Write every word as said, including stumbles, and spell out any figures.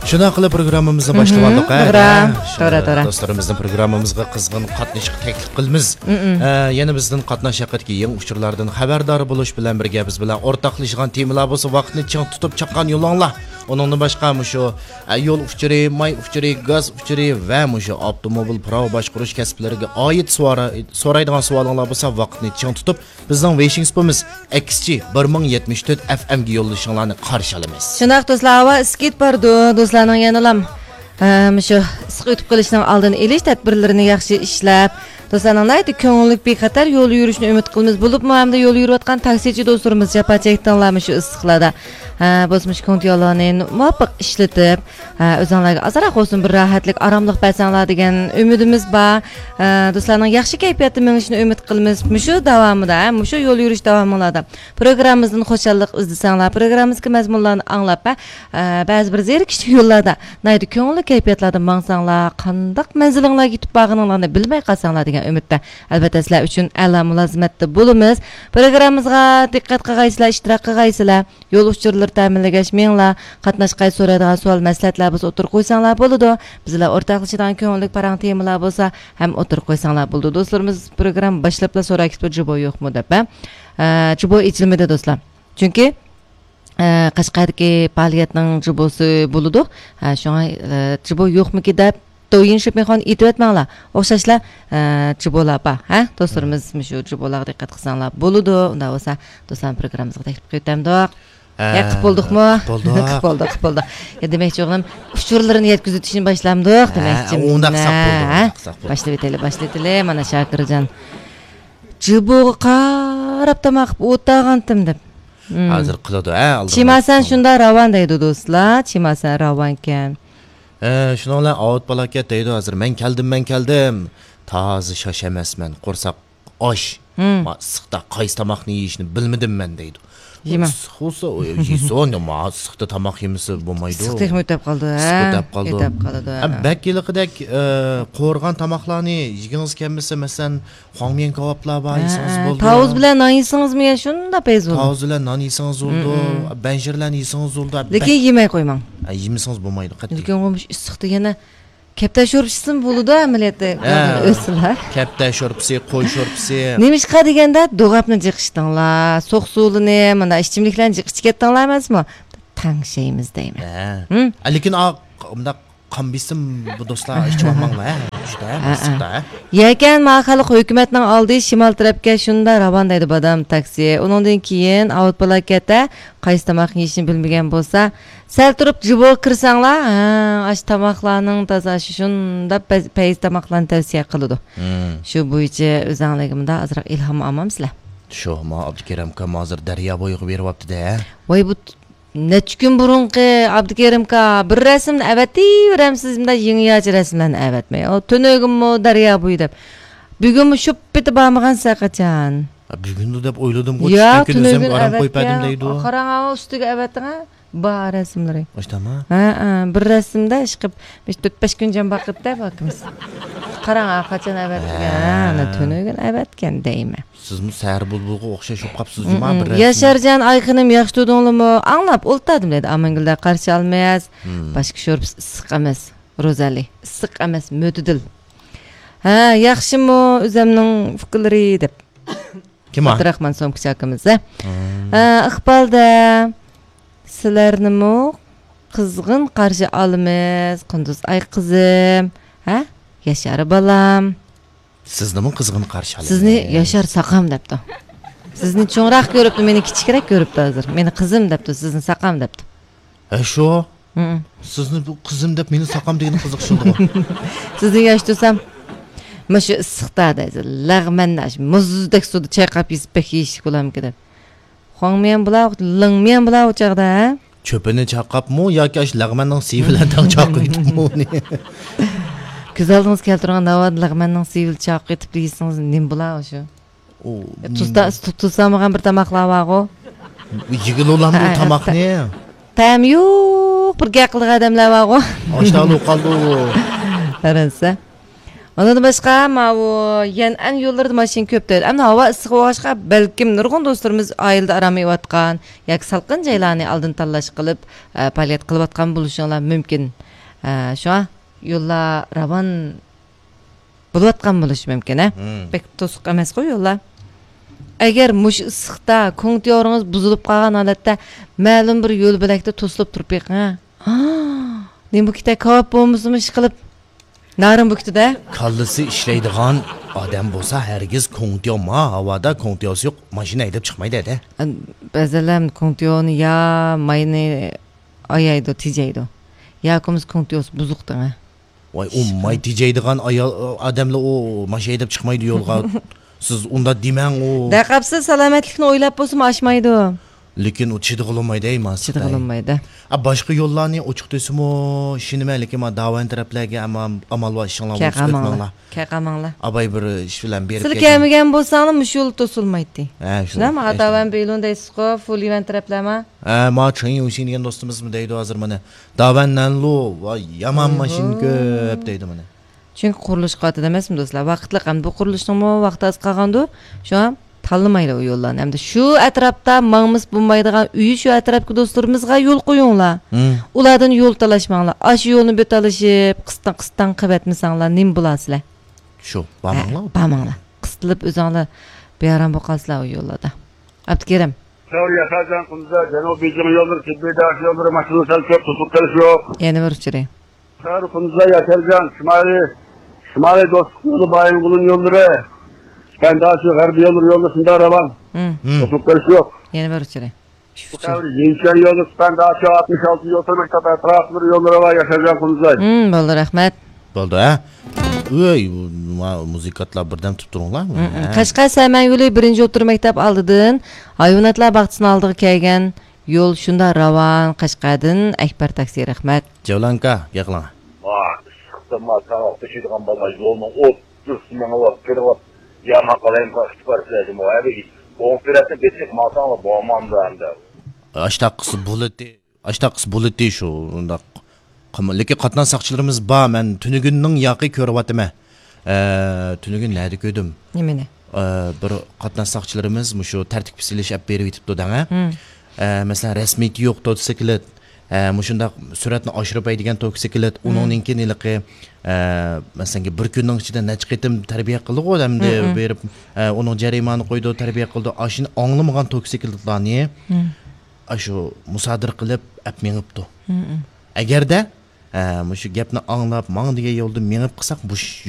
شۇنداق قىلىپ پروگراممىمىزنى باشلىۋالدۇق، ھە؟ توغرا، توغرا، توغرا. دوستلىرىمىزنىڭ پروگراممىمىزغا قىزغىن قاتنىشىشقا تەكلىپ قىلىمىز. ئە، يەنە بىزدىن قاتناش ھەققىدىكى يېڭى ئۇچۇرلاردىن خەۋەردار بولۇش بىلەن بىرگە، بىز بىلەن ئورتاقلىشىدىغان تېمىلار بولسا، ۋاقىتنى چىڭ تۇتۇپ چاققان يولۇڭلار. ئۇنىڭدىن باشقا، مۇشۇ، ئە، يول ئۇچۇرى، ماي ئۇچۇرى، گاز ئۇچۇرى ۋە مۇشۇ ئاپتوموبىل پۇراۋا باشقۇرۇش كەسىپلىرىگە ئائىت سوئال-، سورايدىغان سوئالىڭلار بولسا، ۋاقىتنى چىڭ تۇتۇپ، بىزنىڭ ۋېيشىڭ سۇپىمىز ئەكس جى بىر مىڭ يەتمىش تۆت ئەف ئەمگە يوللىشىڭلارنى قارشى ئالىمىز. شۇنداق دوستلار، ھاۋا ئىسسىق كېتىپ بارىدۇ. دوستلارنىڭ يەنىلام، ئە، مۇشۇ ئىسسىق ئۆتۈپ قېلىشنىڭ ئالدىنى ئېلىش تەدبىرلىرىنى ياخشى ئىشلەپ، دوستلارنىڭ ناھايىتى كۆڭۈللۈك، بىخەتەر يول يۈرۈشىنى ئۈمىد قىلىمىز. بولۇپمۇ ھەمدە يول يۈرۈۋاتقان تاكسىچى دوستلىرىمىز جاپا چەكتىڭلار مۇشۇ ئىسسىقلاردا. ئە، بولسا مۇشۇ كوڭتياللارنى مۇۋاپىق ئىشلىتىپ، ھە، ئۆزۈڭلارغا ئازراق بولسۇن بىر راھەتلىك، ئاراملىق بەرسەڭلار دېگەن ئۈمىدىمىز بار. ھە، دوستلارنىڭ ياخشى كەيپىياتتا مېڭىشىنى ئۈمىد قىلىمىز. مۇشۇ داۋامىدا، ھە، مۇشۇ يول يۈرۈش داۋامىڭلاردا پروگراممىمىزدىن خۇشاللىق ئىزدىسەڭلار، پروگراممىمىزدىكى مەزمۇنلارنى ئاڭلاپ، ھە، ئە، بەزى بىر زېرىكىشلىك يوللاردا ناھايىتى كۆڭۈللۈك كەيپىياتلاردا ماڭساڭلار، قانداق مەنزىلىڭلارغا يېتىپ بارغىنىڭلارنى بىلمەي قالساڭلار دېگەن ئۈمىدتە، ئەلۋەتتە، سىلەر ئۈچۈن ئەلا مۇلازىمەتتە بولىمىز. پروگراممىمىزغا دىققەت قىلغايسىلەر، ئىشتىراك قىلغايسىلەر. يول ئۇچۇرلىرى تەمىنلىگەچ مېڭىڭلار، قاتناشقاي سورايدىغان سوئال مەسلىھەتلەر بولسا ئوتتۇرىغا قويساڭلار بولىدۇ. بىز بىلەن ئورتاقلىشىدىغان كۆڭۈللۈك پاراڭ تېمىلار بولسا ھەم ئوتتۇرىغا قويساڭلار بولىدۇ. دوستلىرىمىز پروگرامما باشلاپلا سوراپ كېتىپتۇ، جۇبو يوقمۇ دەپ، ھە؟ ئە، جۇبو ئېچىلمىدى دوستلار. چۈنكى، ئە، قەشقەردىكى پائالىيەتنىڭ جۇبوسى بولىدۇ. ھە، شۇڭا، ئە، جۇبو يوقمىكى دەپ دويىن شېپىڭخۇەن ئېيتىۋەتمەڭلار. ئوخشاشلا، ئە، جۇبولا بار، ھە؟ دوستلىرىمىز مۇشۇ جۇبولاغا دىققەت قىلساڭلار بولىدۇ. ئۇنداق بولسا، دوستلارنى پروگراممىمىزغا تەكلىپ قىلىۋېتەمدۇق. ھە، قىلىپ بولدۇقمۇ؟ قىلىپ بولدۇق. قىلىپ بولدۇق، قىلىپ بولدۇق. يا، دېمەكچى بولغىنىم، ئۇچۇرلىرىنى يەتكۈزۈۋېتىشنى باشلامدۇق دېمەكچىمەن. ئۇنداق قىلساق بولىدۇ، ھە؟ ئۇنداق قىلساق بولىدۇ. باشلىۋېتەيلى، باشلىۋېتەيلى. مانا شاكىرجان جۇبوغا قاراپ تاماق قىلىپ ئولتۇرغانتىم دەپ. ھازىر قىلىدۇ، ھە، ئالدىغا چىماسەن شۇنداق راۋان دەيدۇ دوستلار. چىماسەن راۋانكەن. ھە، شۇنىڭ بىلەن ئاۋۇت بالاكەت دەيدۇ ھازىر، مەن كەلدىم، مەن كەلدىم. تازا شاش ئەمەسمەن، قورساق ئاچ. ما ئىسسىقتا قايسى تاماقنى يېيىشنى بىلمىدىم مەن دەيدۇ. يېمەڭ. ئىسسىق بولسا، ئۇ يېسۇن، ما ئىسسىقتا تاماق يېمىسە بولمايدۇ. ئىسسىق تېخىمۇ ئۆتەپ قالىدۇ، ھە؟ ئىسسىق ئۆتەپ قالىدۇ. ئۆتەپ قالىدۇ، ھە، ھە. بەك ھېلىقىدەك، ئە، قورۇغان تاماقلارنى يېگىڭىز كەلمىسە، مەسىلەن، خۇاڭميەن كاۋاپلار بار، ھە، يېسىڭىز ھە. بولىدۇ. تاۋۇز بىلەن نان يېسىڭىزمۇ يە شۇنداق پەيز بولىدۇ. تاۋۇز بىلەن نان يېسىڭىز بولىدۇ. مم، مم. بەنشىرلەرنى يېسىڭىز بولىدۇ. لېكىن يېمەي قويماڭ. ھە، يېمىسىڭىز بولمايدۇ، قەتئىي. لېكىن ئۇ مۇشۇ ئىسسىقتا يەنە كەپتەر شورپىسىمۇ بولىدۇ ئەمەلىيەتتە. ھە. ئۆتسىلا. كەپتەر شورپىسى، قوي شورپىسى. نېمىشقا دېگەندە، دوغاپنى جىقىشتىڭلار، سوق سۇلىنى، مانا ئىچىملىكلەرنى جىق ئىچىپ كەتتىڭلار ئەمەسمۇ؟ تەڭشەيمىز دەيمەن. ھە. ھىم؟ لېكىن ئا، مۇنداق قان بېسىم بۇ دوستلار ئىچىۋالماڭلار، ھە، شۇنداق، ھە، ھە، ئىسسىقتا، ھە. يەكەن ما خەلق ھۆكۈمەتنىڭ ئالدى شىمال تەرەپكە شۇنداق راۋان دەيدۇ بادام تاكسى. ئۇنىڭدىن كېيىن ئاۋۇت بالاكەتتە قايسى تاماقنى يېيىشنى بىلمىگەن بولسا، سەل تۇرۇپ جۇبوغا كىرسەڭلار، ھە، ئاشۇ تاماقلارنىڭ تازا شۇ شۇنداق پەز-، پەيز تاماقلارنى تەۋسىيە قىلىدۇ. مم. شۇ بويىچە ئۆزەڭلارگە مۇنداق ئازراق ئىلھام ئالمامسىلەر؟ شۇ، ما ئابدۇكېرىم ئاكام ھازىر دەريا بويىغا بېرىۋاپتۇ-دە. ۋاي، بۇ نەچچە كۈن بۇرۇنقى ئابدۇكېرىم ئاكا، بىر رەسىمنى ئەۋەتىۋېرەمسىز، مۇنداق يېڭى ياچى رەسىملەرنى ئەۋەتمەي. ئۇ تۈنۈگۈنمۇ دەريا بويى دەپ. بۈگۈنمۇ شۇ پېتى بارمىغانسىز ھەرقاچان. ھە، بۈگۈندۇ دەپ ئويلىدىمغۇ، يا، چۈشتىن كېيىن ئۆزۈم تۈنۈگۈن ئارام قويۇپ بەردىم ئەۋەتكەن. دەيدۇ. قاراڭ، ئاۋۇ ئۈستىگە ئەۋەتتىڭ ھە؟ بار رەسىملىرى. ئاشتاما؟ ھە، ھە، بىر رەسىمدە ئىشقىپ، بىر تۆت بەش كۈن جان باقىدىدە باكىمىز. قاراڭ، ھە، قاچان ئەۋەتكەن؟ ھە. ھە، ئانا تۈنۈگۈن ئەۋەتكەن دەيمەن. سىزمۇ سەھەر بۇلبۇلغا ئوخشاش بولۇپ قاپسىز جۇما، بىر رەسىم. ياشارجان ئايخېنىم، ياخشى تۇردۇڭلىمۇ؟ ئاڭلاپ ئولتۇردۇم دەيدۇ ئامانگۈلدە قارشى ئالماس. باشقا شورپىسى ئىسسىق ئەمەس، روزەلى. ئىسسىق ئەمەس، مۆتىدىل. ھە، ياخشىمۇ ئۆزەمنىڭ ئۇكىلىرى دەپ. كىم ئۇ؟ ئابدۇراخمان سومكىچى ئاكىمىز، ھە. ھە، ئىقبالدە سىلەرنىمۇ قىزغىن قارشى ئالىمىز، قۇندۇز ئاي قىزىم. ھە؟ ياشار بالام. سىزنىمۇ قىزغىن قارشى ئالىمىز. سىزنى ياشار ساقام دەپتۇ. سىزنى چوڭراق كۆرۈپتۇ، مېنى كىچىكرەك كۆرۈپتۇ ھازىر. مېنى قىزىم دەپتۇ، سىزنى ساقام دەپتۇ. ھە، شۇ؟ ھىم. سىزنى بۇ قىزىم دەپ مېنى ساقام دېگىنى قىزىقسىندىغۇ. سىزنى ياش تۇرسام، مۇشۇ ئىسسىقتا دەيسىز، لەغمەننى ئاشۇ مۇزدەك سۇدا چايقاپ يېسە بەك يېيىشلىك بولامدىكىن دەپ. خۇاڭميەن بۇلا، لىڭميەن بۇلا ئۇ چاغدا، ھە؟ چۆپىنى چايقاپمۇ ياكى ئاشۇ لەغمەننىڭ سۈيى بىلەن تەڭ چايقىۋېتىپمۇ ئۇنى؟ كۆز ئالدىڭىزغا كەلتۈرۈڭ، ناۋادا لەغمەننىڭ سۈيى بىلەن چايقاپ كېتىپ يېسىڭىز نېمە بولا شۇ؟ ئۇ، تۇز تا-، تۇز سالمىغان بىر تاماقلار بارغۇ. يېگىلى بولامدۇ ئۇ تاماقنى؟ تەمى يوق، بىر گەپ قىلىدىغان ئادەملەر بارغۇ. ئاشۇنداق بولۇپ قالدى ئۇ. قارىسا. ئۇنىڭدىن باشقا، ماۋۇ يەنئەن يوللىرىدا ماشىنا كۆپ دەيدۇ. ئەمدى ھاۋا ئىسسىق بولغاچقا، بەلكىم نۇرغۇن دوستلىرىمىز ئائىلىدە ئارام ئېلىۋاتقان ياكى سالقىن جايلارنى ئالدىن تاللاش قىلىپ، ئە، پائالىيەت قىلىۋاتقان بولۇشۇڭلار مۇمكىن. ئە، شۇڭا يوللار راۋان بولۇۋاتقان بولۇشى مۇمكىن، ھە؟ مم. بەك توسۇق ئەمەسقۇ يوللار. ئەگەر مۇشۇ ئىسسىقتا كوڭتيورىڭىز بۇزۇلۇپ قالغان ھالەتتە مەلۇم بىر يول بۆلەكتە توسۇلۇپ تۇرۇپ بېقىڭ، ھە؟ نېمە بۇكىتە كاۋاپ بولمىسىمۇ ئىشقىلىپ، نارىن بۇكىتىدە. كاللىسى ئىشلەيدىغان ئادەم بولسا، ھەرگىز كوڭتيو، ما ھاۋادا كوڭتيوسى يوق ماشىنا ھەيدەپ چىقمايدۇ ھەدە. بەزىلەر كوڭتيونى يا ماينى ئايايدۇ، تېجەيدۇ. ياكى بولمىسا كوڭتيوسى بۇزۇق دەڭە. ۋاي، ئۇ ماي تېجەيدىغان ئايال، ئادەملەر ئۇ ماشىنا ھەيدەپ چىقمايدۇ يولغا. سىز ئۇنداق دېمەڭ ئۇ. دەقەپسىز، سالامەتلىكنى ئويلاپ بولسىمۇ ئاشمايدۇ. لېكىن ئۇ چىدىغىلى بولمايدۇ، ئەي، ماس. چىدىغىلى بولمايدۇ. ئا، باشقا يوللارنى ئوچۇق دېسىمۇ، ئىشىنىمەن، لېكىن ما داۋان تەرەپلەرگە ئەمما ئامال بار، ئىشىڭلار بولسا ئۆتمەڭلار. كەقەمەڭلار. ئاباي بىر ئىش بىلەن بېرىپ سىلەر كەلگەن. كەلمىگەن بولساڭلار مۇشۇ يول توسۇلمايتتى. ھە، شۇ. شۇنداقمۇ؟ ئا، داۋان بېيلۇن دەيسىزغۇ، فۇليۈەن تەرەپلەرما؟ ھە، ما چېڭ يۇشىن دېگەن دوستىمىزمۇ دەيدۇ ھازىر مانا. داۋان نەنلۇ، ۋاي، يامان ماشىنا كۆپ دەيدۇ مانا. چۈنكى قۇرۇلۇش قاتىدى ئەمەسمۇ دوستلار؟ ۋاقىتلىق، ئەمدى بۇ قۇرۇلۇشنىڭمۇ ۋاقتى ئاز قالغاندۇ، شۇڭا تاللىمايلى ئۇ يوللارنى. ئەمدى شۇ ئەتراپتا ماڭمىسا بولمايدىغان ئۆيى شۇ ئەتراپتىكى دوستلىرىمىزغا يول قويۇڭلار. مم. ئۇلاردىن يول تالاشماڭلار. ئاشۇ يولنى بىر تالىشىپ، قىستاڭ، قىستاڭ قىلىۋەتمىسەڭلار نېمە بولارسىلەر؟ شۇ، بارماڭلار. ھە، بارماڭلار. قىستىلىپ ئۆزۈڭلار بىئارام بولۇپ قالىسىلەر ئۇ يوللاردا. ئابدۇكېرىم. سەۋر ياشارجان قۇمزا، جەنۇبىي بېيجىڭ يوللىرى، تىببىي داش يوللىرى، ماشىنا سەل كۆپ، توسۇپ قېلىش يوق. يەنە بىر ئۇچۇرى. سەۋر قۇمزا، ياشارجان، شىمالىي، شىمالىي دوستلۇق يولى، بايىنغولىن يوللىرى، سىپەنداشى، غەربىي يوللىرى، يوللىرى شۇنداق راۋان. مم. مم. توسۇپ قېلىش يوق. يەنە بىر ئۇچۇرى. ئۈچ ئۇچۇر. سەۋر يىنشەن يولى، سىپەنداشى، ئاتمىش ئالتىنچى يول تۈرمەك ئەتراپلىرى يوللىرى ۋە ياشارجان قۇمزا. مم، بولدى، رەھمەت. بولدى، ھە؟ ئۆي، ما-، مۇزىكانتلار بىردەم تۇرۇپ تۇرۇڭلار. مم، مم. ھە. قەشقەر سەمەن يولى بىرىنچى ئوتتۇرا مەكتەپ ئالدىدىن ھايۋاناتلار باغچىسىنىڭ ئالدىغا كەلگەن يول شۇنداق راۋان. قەشقەردىن ئەكبەر تاكسى، رەھمەت. جەۋلانكا، گەپ قىلىڭ. ۋاي، ئىسسىقتىن ما ساڭا ئوخشايدىغان بالىلار يولنىڭ ئوتتۇرىسىدا مېڭىۋاپ كىرىۋاپ، يامان قالايمىقان ئۇچۇپ بارسىلەر جۇمۇ. ھە، بىر ئوڭ تەرەپتىن بېسىپ ماڭساڭلار بولمامدۇ ئەمدى؟ ئاشتاققىسى بولىدۇ. ئاشتاققىسى بولىدۇ شۇ، ئۇنداق قىلما. لېكىن قاتناش ساقچىلىرىمىز بار، مەن تۈنۈگۈننىڭ ياقى كۆرۈۋاتىمەن. ئە، تۈنۈگۈن نەدە كۆردۈم؟ نېمىنى؟ ئە، بىر قاتناش ساقچىلىرىمىز مۇشۇ تەرتىپ سېلىش ئەپ بېرىۋېتىپتۇ دەڭە. ھىم. ئە، مەسىلەن، رەسمىيىتى يوق توتسىكلىت، ئە، مۇشۇنداق سۈرئەتنى ئاشۇرۇپ ھەيدىگەن توتسىكلىت، ھىم. ئۇنىڭدىن كېيىن ھېلىقى، ئە، مەسىلەن، بىر كۈننىڭ ئىچىدە نەچچە قېتىم تەربىيە قىلدىغۇ ئەمدى ھىم، ھىم. بېرىپ، ئە، ئۇنىڭ جەرىمانە قويىدۇ، تەربىيە قىلىدۇ. ئاشۇنى ئاڭلىمىغان توتسىكلىتلارنى ھىم. ئاشۇ مۇسادىرە قىلىپ ئەپ مېڭىپتۇ. ھىم، ھىم. ئەگەردە، ئە، مۇشۇ گەپنى ئاڭلاپ، ماڭا دېگەن يولدا مېڭىپ قىلساق، بۇ